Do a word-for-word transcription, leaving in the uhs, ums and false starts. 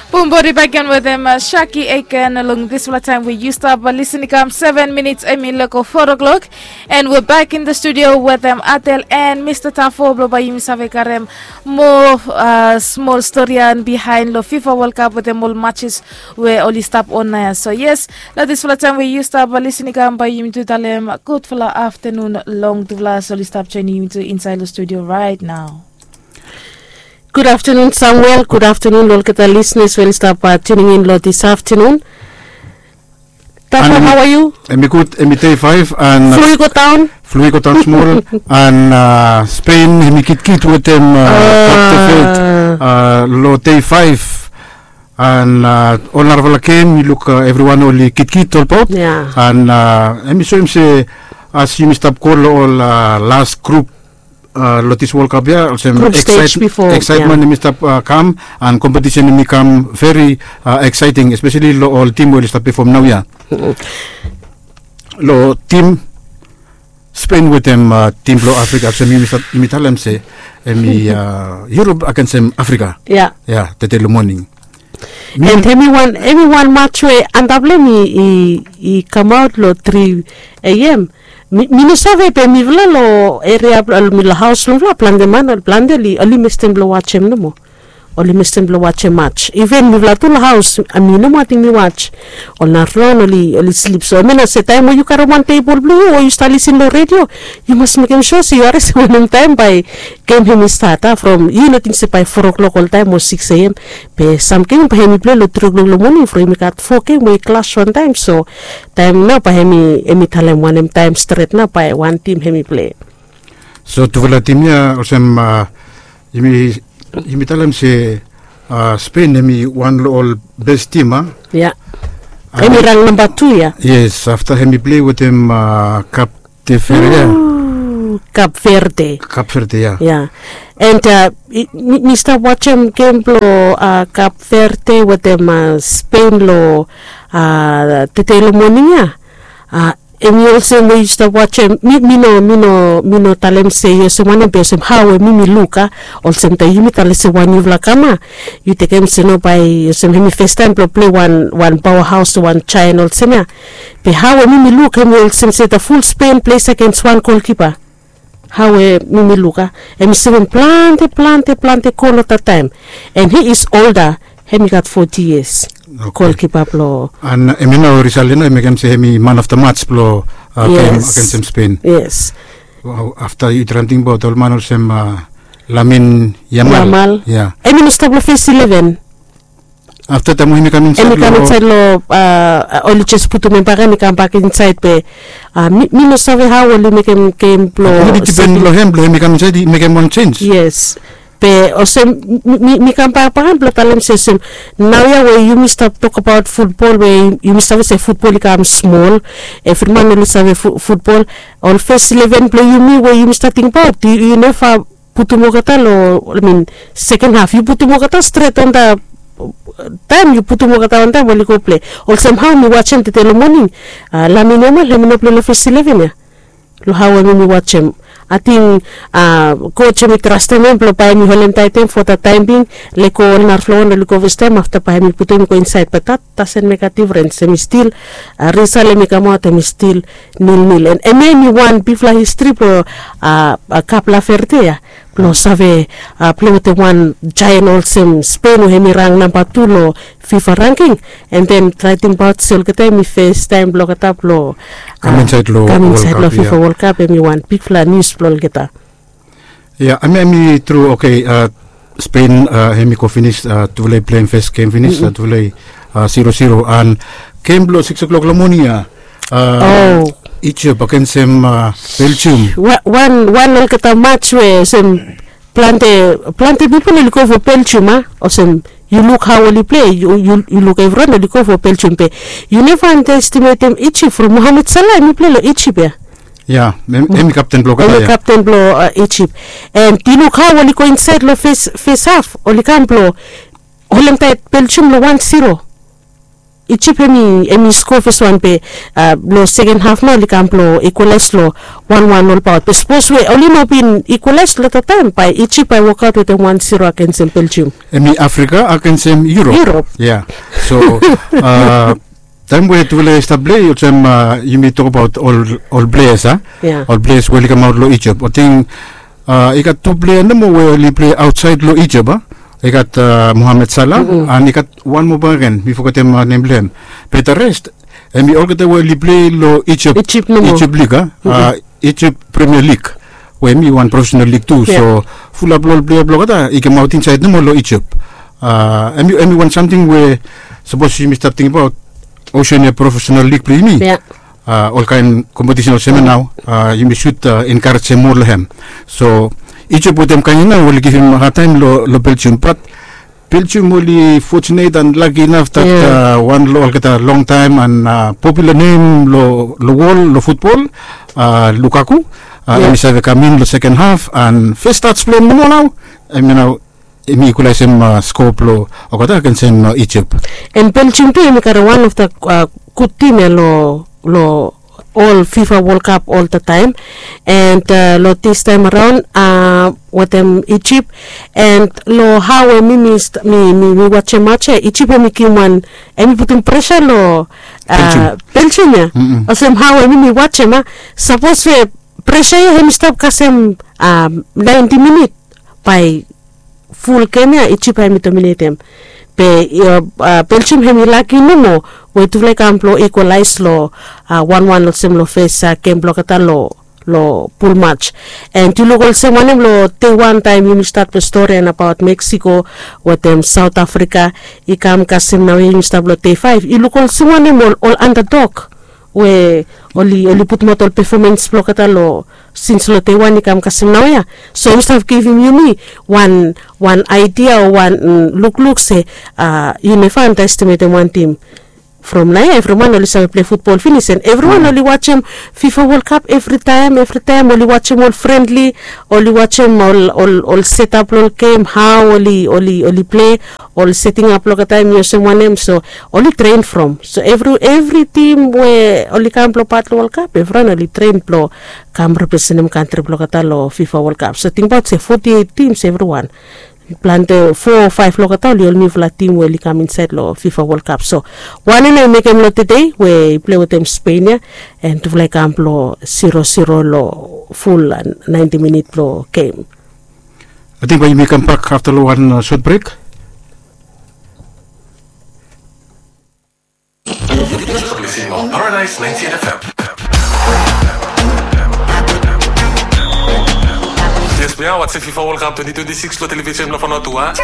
Bum bodi bek gen wetem Shaki Aiken long dispela taim we yu stap lisin i kam seven minits em i loko four o'clock. And we're back in the studio wetem Atel and Mr Tafo blong bai yumi save karem moa smol storian bihain long FIFA World Cup wetem ol matches we oli stap on na ya. So yes, long dispela taim we yu stap lisin i kam bai yumi tu talem gudfala aftanun long tufala oli stap joinim yumi tu insait long studio right now. Gud aftanun Samuel, gud aftanun long olgeta listeners we oli stap tuning in long dis aftanun. Tafo, how are you? Em i gud, em i day five and flu i go daun. Flu i go daun smol. And Spain em i kitkit wetem Cape Verde long day five. And ol narafala gem i luk evriwan oli kitkit olbaot. And em i soim se as yumi stap go long ol las grup long dis World Cup ya, olsem excitement em i stap kam and competition em i kam very exciting, especially long ol tim we oli stap perform nau ya. Long tim Spain wetem tim blong Afrika, olsem yumi talem se em i Europe agensem Afrika. Ya, tete long moning. And em i wan, em i wan match we antap long em i kamaot long tri A M. Mi no save be mifala long eria, mi long haus blong mifala, plante man, plante oli mestem blong wajem nomo. Oli mestem blong wajem match. Iven mifala tu long haus, mi nomo ating mi waj. Ol narafala oli slip. So em ya nao se taim we yu karem wan tebol blong yu o yu stap lisin long redio, yu mas mekem sua se yu harim se wanem taim bai gem hem i stat, a, from yu no ting se bai four o'clock oltaim o six A M. Be sam gem bai hem i plei long three o'clock long moning from hem i gat four gem we i clash wantaim. So taim nao bai hem i, hem i talem wanem taim stret nao bai wan tim hem i plei. So tufala tim ya olsem, a, yumi, yumi talem se, a, Spain hem i wan long ol bes tim, a? Ya. Hem i rang namba tu ya. Yes, afta hem i plei wetem, a, Kap Kap Verde. Kap Verde. Kap Verde, ya. Ya. And mi stap wajem gem blong Kap Verde wetem Spain long tede long moning ya. Em i olsem we yu stap wajem, mi no, mi no, mi no talem se i olsem wanem, be olsem hao we mi mi luk, a, olsem taim yumi talem se wan yufala kam, a, yu tekem se no bai olsem hem i festaim blong plei wan, wan power haus, wan jaen olsem ya. Be hao we mi mi luk hem i olsem se the full Spain plays against one goalkeeper. Hao we mi mi luk, a, hem i sevem plante, plante, plante gol olgeta taim. And he is older, hem i gat forty years. Goalkeeper blong. And hem i nao risalt ya nao i mekem se hem i man of the match blong gem agensem Spain. Yes. Afta yu traem tingbaot ol man olsem Lamin Yamal. Yamal. Ya. Hem i no stap long fes eleven. Afta taim we hem i kam insaed long, oli jes putum hem bak, hem i kam bak insaed, be mi no save hao oli mekem gem blong. Oli dipen long hem blong hem i kam insaed i mekem wan jenis. Yes. Be olsem mi, mi kam bak bak blong talem se olsem, naoia we yumi stap tokbaot futbol, we yumi save se futbol i kam smol, evri man oli save futbol. Ol fes eleven blong yumi we yumi stap tingbaot, yu neva putum olgeta long, I mean, seken haf yu putum olgeta stret on the taim, yu putum olgeta on taim oli go plei. Olsem hao mi wajem tede long moning, Lamin Yamal hem i no plei long fes eleven ya. Long hao we mi wajem, ating coach hem i trastem hem blong bae hem i holem taet hem for the time being. Lego ol narafala wan oli go festaim, afta bae hem i putum hem i go insaed, but that doesn't make a difference. Hem i stil, risalt hem i kamaot hem i stil nil nil. And hemia hem i wan bigfala histri blong Kap Verde ya, blong save plei wetem wan jaen olsem Spain we hem i rang namba tu long FIFA ranking. And then trae tingbaot se olgeta hem i festaim blong olgeta blong kam insaed long FIFA World Cup, hem i wan bigfala nius blong olgeta. Ya, hemia hem i tru. Oke, Spain hem i go finis, tufala i pleim fes gem finis, tufala i zero zero. And gem blong six o'clock long moning ya, Egypt agensem Belgium. Wan, wan olgeta match we olsem plante, plante pipol oli go for Belgium, a, olsem yu luk hao oli plei, yu luk evriwan oli go for Belgium, be yu neva anda estimetem Egypt from Mohamed Salah hem i plei long Egypt ya. Ya, hem i kapten blong olgeta ya. Hem i kapten blong Egypt. And yu luk hao oli go insaed long fes, fes haf, oli kam blong holem taet Belgium long wan zero. Ijip hem i skoa fes wan be long seken haf nao oli kam blong ikwalaes long wan wan olbaot be sapos we oli no bin ikwalaes long dat taem bae ijip bae wokaot wetem wan siro agens hem beljium. Hem i afrika agens hem yurop. Yurop. Ya. So taem we tufala i stap plei olsem yumi tokabaot ol pleas a, ol pleas we oli kamaot long ijip ating i gat tu plea nomo we oli plei aotsaed long ijip a. I gat mohamed sala an i gat wan moa bak gen mi fogetem nem blong hem. Be da res hem i olgeta we oli plei long ijip ijip lig a, ijip premia lig, we hem i wan profesenal lig tu. So fulap long ol plea blong olgeta i kamaot insaed nomo long ijip. Hem i wan samting we sapos yumi stap tingbaot osean ya profesenal lig blong yumi, olkaen kompetisen olsem ya nao yumi sud enkarejem moa long hem. So ijip wetem kaen ya nao oli givim hadtaem long beljium bat beljium oli fotunet an laki inaf dat wan long olgeta longtaem an popula nem long wol long futbol, lukaku, hem i save kam in long seken haf an fes stats blong hem nomo nao hem ya nao hem i ikwalaesem skoa blong olgeta agens hem ijip. An beljium tu hem i gat wan of da gud tim ya long ol fifa wol kap oltataem. An long distaem araon wetem ijip, an long hao we mi mi wajem maja ijip hem i givim wan, hem i putum presa long beljium ya. Olsem hao we mi mi wajem a, sapos we presa ya hem i stap kasem naenti minit bae ful gem ya ijip hem i dominetem. Be beljium hem i laki nomo we tufala i kam blong ikwalaes long wan wan olsem long fes gem blong olgeta long pul maj. An yu luk olsem wanem long dei wan taem yumi stat long stori nabaot meksiko wetem saot afrika i kam kasem naoia yumi stap long dei faef i luk olsem wanem ol andadok we oli putumaot ol pefomens blong olgeta long sins long dei wan i kam kasem naoia. So yumi stap givim yumi wan wan aidia o wan lukluk se yu neva andaestimetem wan tim. From naoia evriwan oli save plei futbol finis an evriwan oli wajem fifa wol kap evritaem evritaem oli wajem ol frenli, oli wajem ol setap blong ol gem hao oli oli plei, ol setingap blong olgeta hem i olsem wanem so oli tren from so evri evri tim we oli kam blong pat long wolkap evriwan oli tren blong kam representem kantri blong olgeta long fifa wolkap so tingbaot se foti eit tims evriwan. Plante fo o faef long olgeta oli ol niufala tim we oli kam insaed long fifa wolkap so wanem nao i mekem long tedei we i plei wetem spen ya, an tufala i kam blong siro siro long ful naenti minit blong gem. Ating bae yumi kambak afta long wan sot brek. Yes we are watching fifa world cup twenty twenty-six long television blong fanotua.